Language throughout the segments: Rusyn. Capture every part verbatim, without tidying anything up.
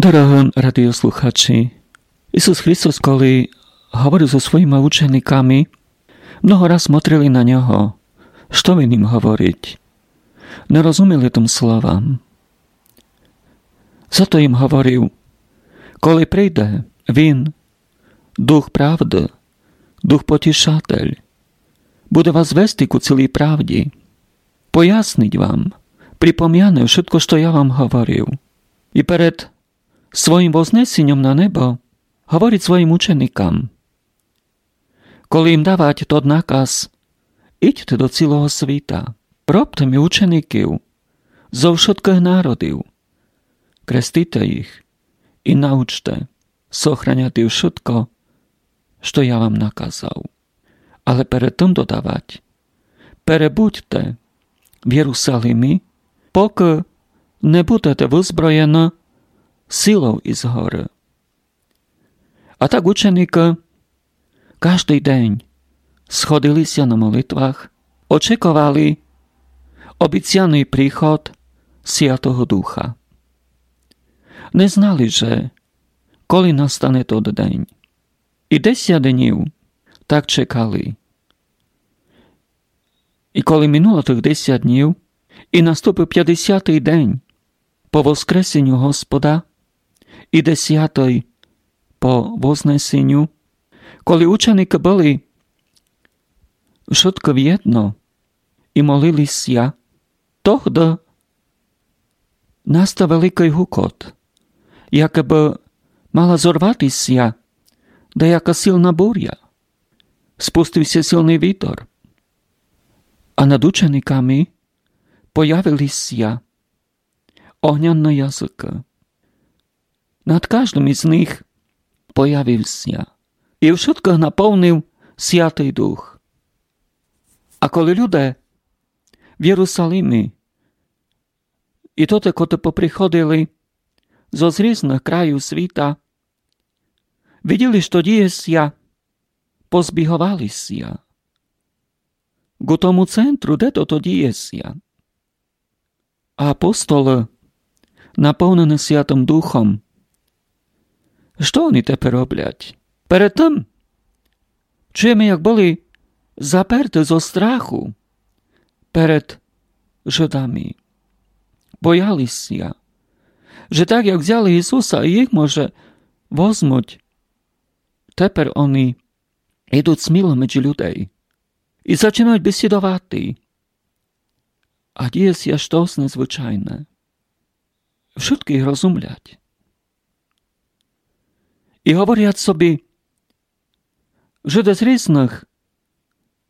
Дорогы радіослухачі, Ісус Христос, коли говорив зо своїма учениками, много раз смотрили на нього, што він їм говорить. Не розуміли тым словам. Зато їм говорив: коли прийде Він, Дух правды, Дух Потішатель, буде вас вести ку цілій правді, пояснить вам, припомяне вшытко, што я вам говорив. І перед своїм вознесеньом на небо говорить своїм ученикам, коли їм давать тот наказ: идьте до цілого світа, робте мі учеників зо вшыткых народів, крестите їх і научте сохраняти вшытко, што я вам наказав. Але перед тым додавать: перебудьте в Єрусалимі, покы не будете вызброєны силов із горы. А так ученикы каждый день сходили ся на молитвах, очековали обіцяный приход Святого Духа. Не знали же, коли настане тот день. І десять днів так чекали. І коли минуло тых десять днів, і наступив пятдесятый день по воскресеню Господа, і десятый по вознесеню, коли ученикы были вшытко вєдно і молили ся, тогды настав великый гукот, якы бы мала зорвати ся даяка силна буря. Спустив ся силный вітор, а над учениками появили ся огняны языкы. Над каждым із них появив ся і вшыткых наповнив Святый Дух. А коли люде в Єрусалимі і тоты, котры поприходили зоз різных країв світа, виділи, што діє ся, позбіговали ся ку тому центру, де тото діє ся. А апостолы, наповнені Святым Духом, што они тепер роблять? Перед тым чуєме, як были заперты зо страху перед Жидами. Бояли ся, же так, як взяли Ісуса і їх, може, возмуть, тепер они идуть сміло меджі людей і зачинають бесідовати. А діє ся штось незвычайне. Вшыткі їх розумлять. І говорять собі: Жиды з різных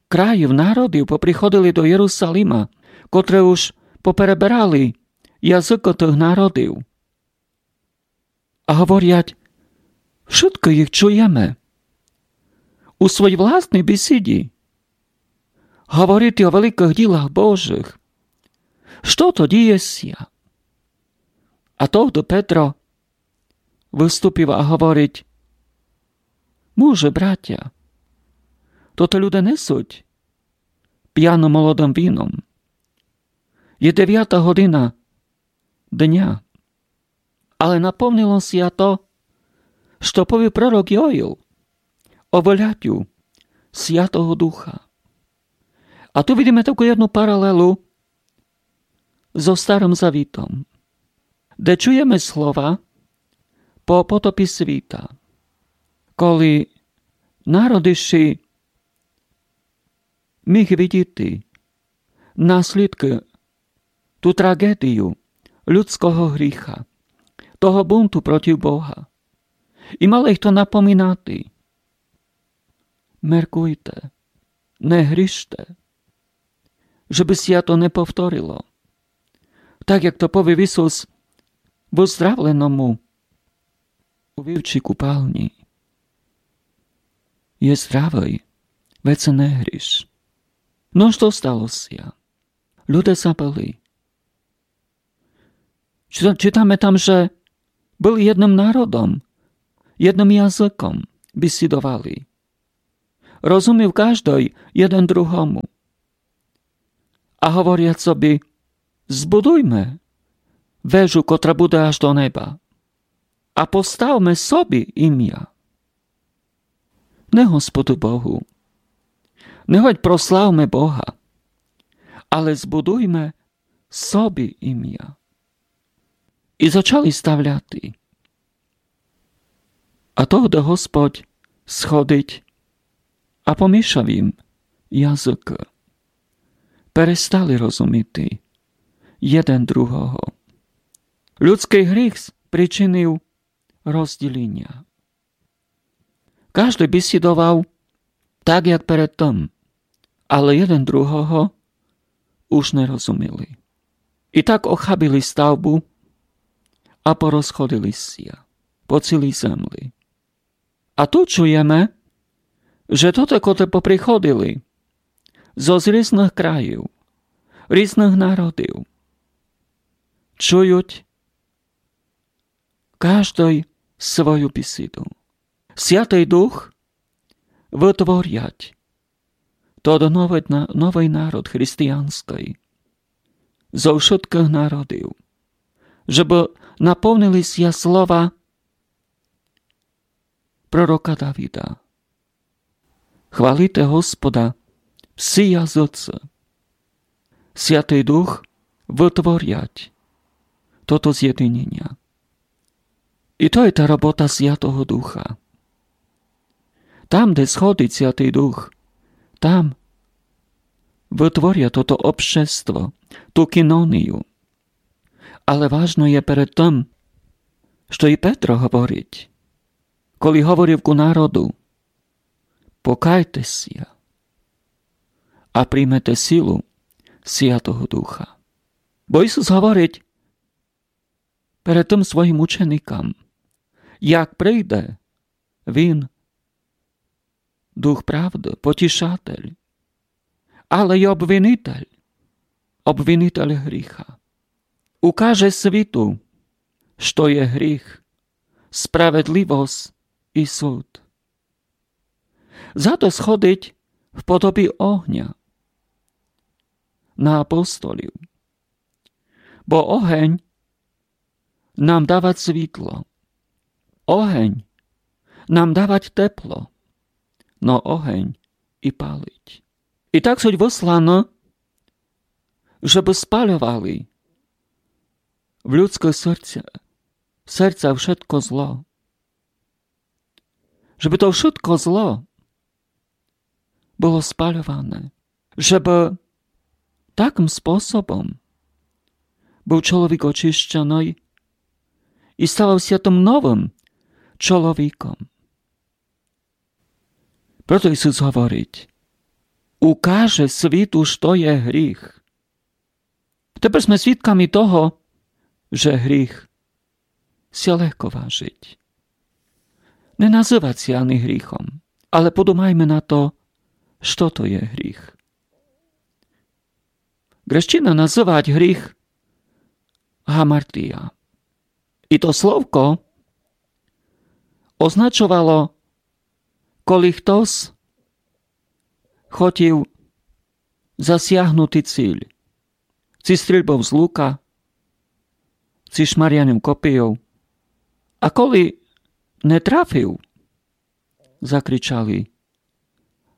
країв, народів поприходили до Єрусалима, котры уж поперебирали языкы тых народів. А говорять: вшыткы їх чуєме у своїй власній бесіді говорити о великых ділах Божых. Што то діє ся? А тогды Петро выступив а говорить: Мужы, братя, тоты люде не суть пяны молодым віном. Є девята година дня. Але наповнило ся то, што повів пророк Йоїл о вылятю Святого Духа. А ту видиме таку єдну паралелу зо Старым Завітом, де чуєме слова по потопі світа, коли народ іщи міг видіти наслідкы, ту трагедію людского гріха, того бунту проти Бога. І мали їх то напоминати. Меркуйте, не гріште, же бы ся то не повторило. Так, як то повів Ісус выздравленому у вівчій купальні: Є здравый, веце не гріш. Но што стало ся? Люде забыли. Чита-, читаме там, же были єдным народом, єдным языком бесідовали. Розумів каждый єден другому. А говорять собі: Збудуйме вежу, котра буде аж до неба. а поставме собі імя. Не Господу Богу. Не говорить: прославме Бога, але збудуйме собі імя. І зачали ставляти. А тогды Господь сходить а помішав їм языкы. Перестали розуміти єден другого. Людськый гріх спричинив розділіня. Каждый бісідовав так, як перед тым, але єден другого уж не розуміли. І так охабили ставбу а порозходили ся по цілій землі. А ту чуєме, же тоты, котры поприходили зо, з різных країв, різных народів, чують каждый свою бісіду. Святый Дух вытворять тот новый на-, новый народ християнськый зо вшыткых народів, жебы наповнили ся слова пророка Давида: Хвалите Господа, всі языци. Святый Дух вытворять тото зєдиніня. І то є та робота Святого Духа. Там, де сходить Святый Дух, там вытворять тото общество, ту кінонію. Але важно є перед тым, што і Петро говорить, коли говорив ку народу: Покайте ся, а приймете силу Святого Духа. Бо Ісус говорить перед тым своїм ученикам, як прийде Він, Дух правды, Потішатель, але й обвинитель, обвинитель гріха. Укаже світу, што є гріх, справедливость і суд. Зато сходить в подобі огня на апостолів. Бо огень нам давать світло. Огень нам давать тепло. Но огень і палить. І так суть высланы, жебы спальовали в людськых серця, серця вшытко зло. Жебы то вшытко зло было спальоване. Жебы такым способом быв чоловік очищеный і ставав ся тым новым чоловіком. Прото Ісус говорить: Укаже світу, што є гріх. Тепер сьме свідками того, же гріх ся легко важить. Не называть ся ани гріхом, але подумайме на то, што то є гріх. Греччина называть гріх гамартія. І то словко означовало, коли хтось хотів засягнути ціль, ци стрільбов з лука, ци шмаряньом копійов. А коли не трафив, закричали: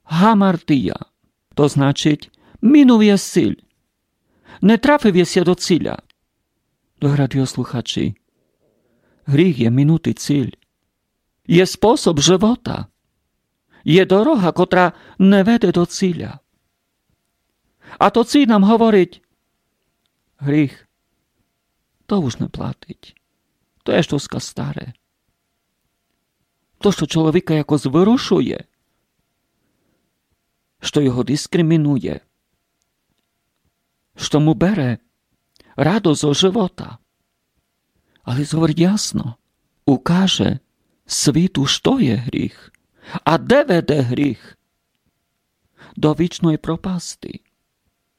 Гамартія! То значить, минув єс ціль. Не трафив єс ся до ціля. Дорогы радіослухачі, гріх є минути ціль. Є способ живота. Є дорога, котра не веде до ціля. А то ціль нам говорить: гріх, то уж не платить. То є штоска старе. То, што чоловіка якось вырушує, што його дискримінує, што му бере радость зо живота. Але говорить ясно: укаже світу, што є гріх, а де веде гріх до вічной пропасти.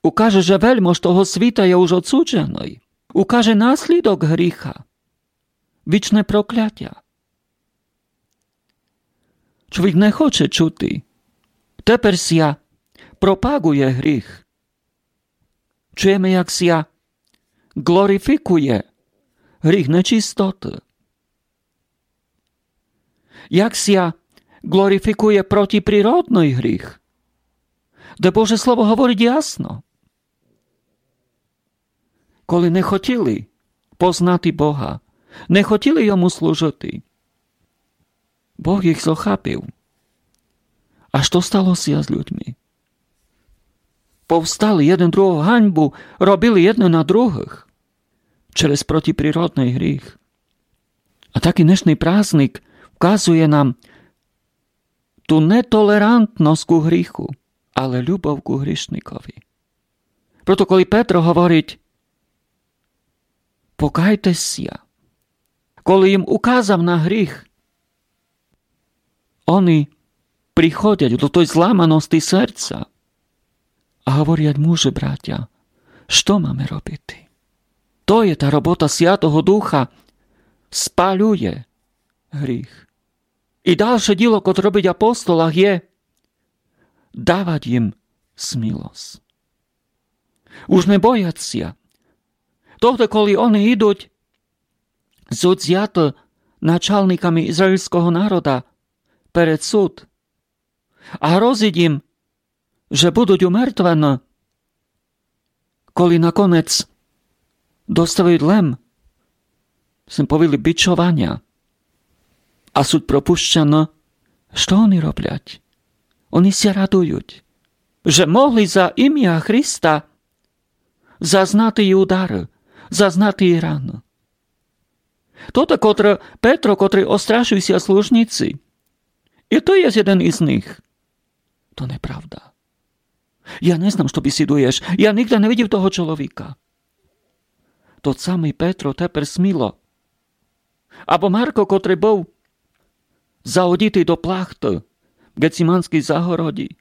Укаже, же вельмож того світа є уж одсудженый. Укаже наслідок гріха. Вічне проклятя. Чоловік не хоче чути. Тепер ся пропагує гріх. Чуєме, як ся глоріфікує гріх нечистоты. Як ся ґлоріфікує протиприродный гріх, де Боже Слово говорить ясно. Коли не хотіли познати Бога, не хотіли йому служити, Бог їх зохабив. А што стало ся з людьми? Повстали, єден другого ганьбу робили, єдни на другых через протиприродный гріх. А такый днешный праздник вказує нам ту нетолерантность ку гріху, але любов ку грішникови. Прото коли Петро говорить: «Покайте ся», коли їм указав на гріх, они приходять до той зламаности серця а говорять: «Мужи, братя, што маме робити?» То є та робота Святого Духа, спалює гріх. І дальше діло, котре робить апостолах, є давать їм смілость. Уж не боять ся. Тогды, коли они идуть з удзятыма началниками ізраїльского народа перед суд, а грозить їм, же будуть умертвені, коли наконець доставають лем, сьме повіли, бичованя, а суть пропущені, што они роблять? Они ся радують, же могли за імя Христа зазнати і удары, зазнати і раны. Тото, котре Петро, котрый острашив ся служниці, і то є єден із них. То неправда. Я не знам, што бесідуєш. Я нигде не видів того чоловіка. Тот самый Петро тепер сміло. Або Марко, котрый быв заодітый до плахты в Гециманській загороді.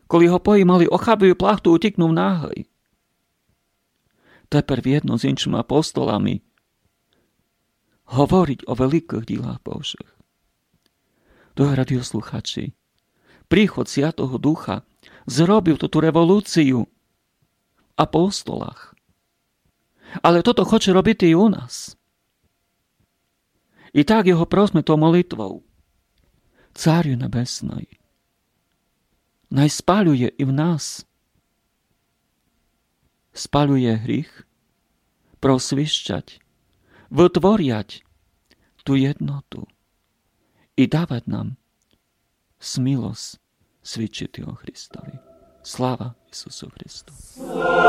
Коли го поїмали, охабив плахту, утікнув нагый. Тепер вєдно з іншыма апостолами говорить о великых ділах Божых. Дорогы радіослухачі, приход Святого Духа зробив тоту револуцію в апостолах. Але тото хоче робити і у нас. І так його просьме ту молитву: Царю Небесный, най спалює і в нас, спалює гріх, просвіщать, вытворять ту єдноту і давать нам смілость свідчити о Христови. Слава Ісусу Христу!